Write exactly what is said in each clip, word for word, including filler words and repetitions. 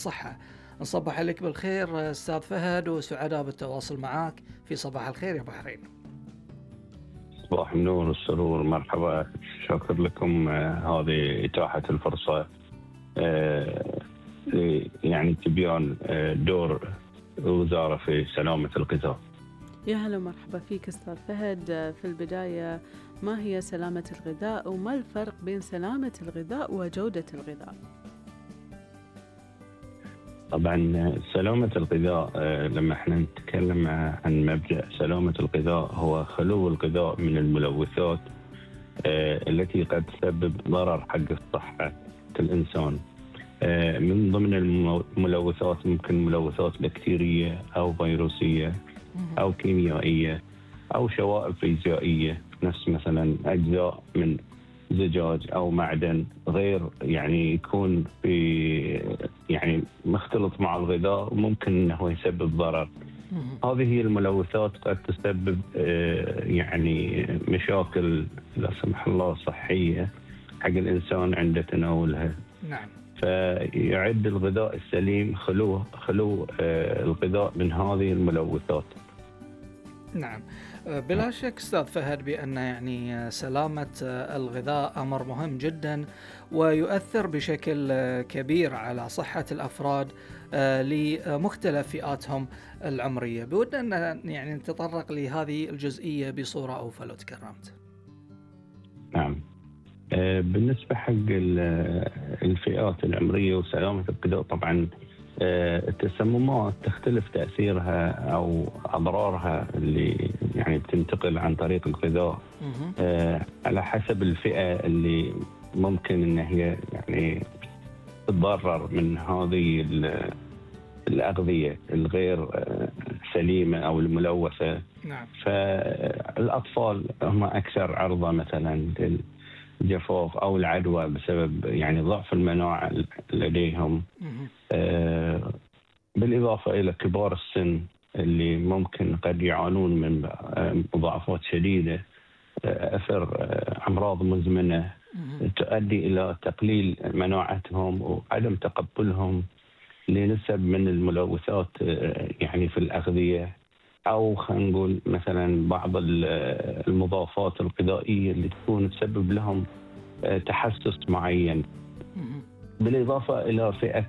صحة. نصبح عليك بالخير أستاذ فهد، وسعداء بالتواصل معك في صباح الخير يا بحرين. صباح النور والسرور، مرحبا. شكر لكم آه، هذه إتاحة الفرصة آه، ل- يعني تبيان آه، دور الوزارة في سلامة الغذاء. يا هلا ومرحبا فيك أستاذ فهد. في البداية، ما هي سلامة الغذاء وما الفرق بين سلامة الغذاء وجودة الغذاء؟ طبعا سلامة الغذاء آه، لما احنا نتكلم عن مبدأ سلامة الغذاء هو خلو الغذاء من الملوثات آه، التي قد تسبب ضرر حق الصحة الإنسان. آه، من ضمن الملوثات ممكن ملوثات بكتيرية أو فيروسية أو كيميائية أو شوائب فيزيائية، نفس مثلا أجزاء من زجاج أو معدن غير يعني يكون في يعني مختلط مع الغذاء وممكن أنه يسبب ضرر. هذه هي الملوثات قد تسبب آه، يعني مشاكل لا سمح الله صحية حق الإنسان عند تناولها. نعم. فيعد الغذاء السليم خلو خلو آه، الغذاء من هذه الملوثات. نعم، بلا شك أستاذ فهد بأن يعني سلامة الغذاء أمر مهم جدا ويؤثر بشكل كبير على صحة الأفراد آه، لمختلف فئاتهم العمرية. بودنا أن يعني نتطرق لهذه الجزئية بصورة أوفى لو تكرمت. نعم. آه، بالنسبة حق ال- الفئات العمرية وسلامة الغذاء، طبعا آه، التسممات تختلف تأثيرها أو أضرارها اللي يعني بتنتقل عن طريق الغذاء مهم. آه، على حسب الفئة اللي ممكن إن هي يعني تتضرر من هذه ال- الأغذية الغير آه، سليمة أو الملوثة. نعم. فالأطفال هم أكثر عرضة مثلا للجفاف أو العدوى بسبب يعني ضعف المناعة لديهم. مهم. آه، بالإضافة إلى كبار السن اللي ممكن قد يعانون من آه، مضاعفات شديدة، آه، أثر آه، أمراض مزمنة مهم. تؤدي إلى تقليل مناعتهم وعدم تقبلهم لنسب من الملوثات آه، يعني في الأغذية، أو خلينا نقول مثلا بعض ال- آه، المضافات الغذائية اللي تكون تسبب لهم آه، تحسس معين. مهم. بالإضافة إلى فئة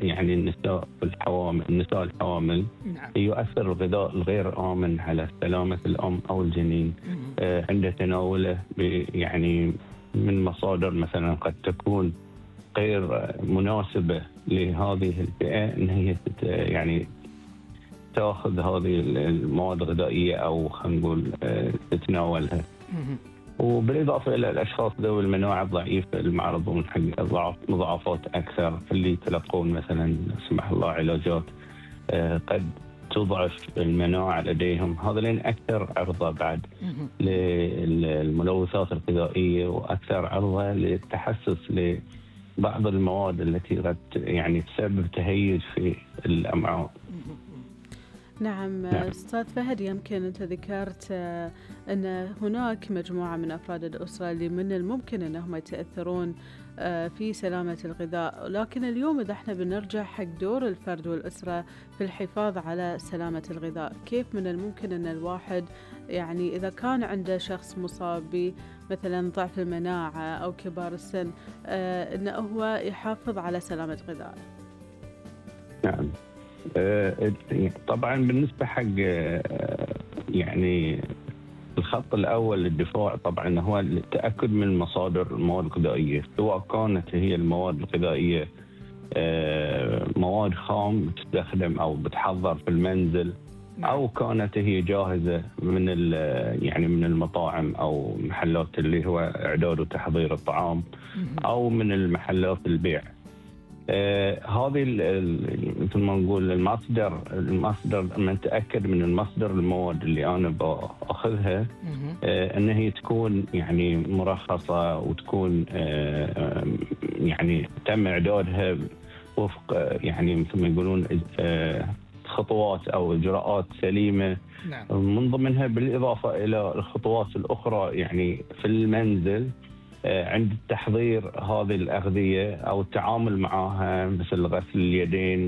يعني النساء والحوامل، النساء الحوامل نعم. يؤثر الغذاء الغير آمن على سلامة الأم أو الجنين مهم. آه، عند تناوله ب- يعني من مصادر مثلا قد تكون غير مناسبة لهذه الفئة إن هي تت- يعني تأخذ هذه المواد الغذائية أو خلينا نقول آه، تتناولها. مهم. وبالإضافة إلى الأشخاص ذوي المناعة الضعيفة المعرضون حق ضعف- مضاعفات أكثر، اللي يتلقون مثلا لا سمح الله علاجات آه، قد تضعف المناعة لديهم، هذولين أكثر عرضة بعد مهم. للملوثات الغذائية وأكثر عرضة للتحسس لبعض المواد التي قد يعني تسبب تهيج في الأمعاء. نعم. نعم. أستاذ فهد، يمكن أنت ذكرت آه، أن هناك مجموعة من أفراد الأسرة اللي من الممكن أنهم يتأثرون آه، في سلامة الغذاء، لكن اليوم إذا احنا بنرجع حق دور الفرد والأسرة في الحفاظ على سلامة الغذاء، كيف من الممكن أن الواحد يعني إذا كان عنده شخص مصاب بمثلا ضعف المناعة أو كبار السن آه، أنه هو يحافظ على سلامة غذائه؟ نعم. آه، طبعا بالنسبة حق آه، يعني الخط الأول للدفاع طبعا هو التأكد من مصادر المواد الغذائية، سواء كانت هي المواد الغذائية آه، مواد خام تستخدم أو بتحضر في المنزل، أو كانت هي جاهزة من ال- يعني من المطاعم أو محلات اللي هو إعداد وتحضير الطعام، أو من المحلات البيع. آه هذه ال- ال- مثل ما نقول المصدر المصدر لما نتاكد من المصدر المواد اللي انا باخذها مهم. آه ان هي تكون يعني مرخصه وتكون آه يعني تم اعدادها وفق آه، يعني مثل ما يقولون آه خطوات او اجراءات سليمه. نعم. من ضمنها بالاضافه الى الخطوات الاخرى يعني في المنزل عند تحضير هذه الأغذية أو التعامل معها مثل غسل اليدين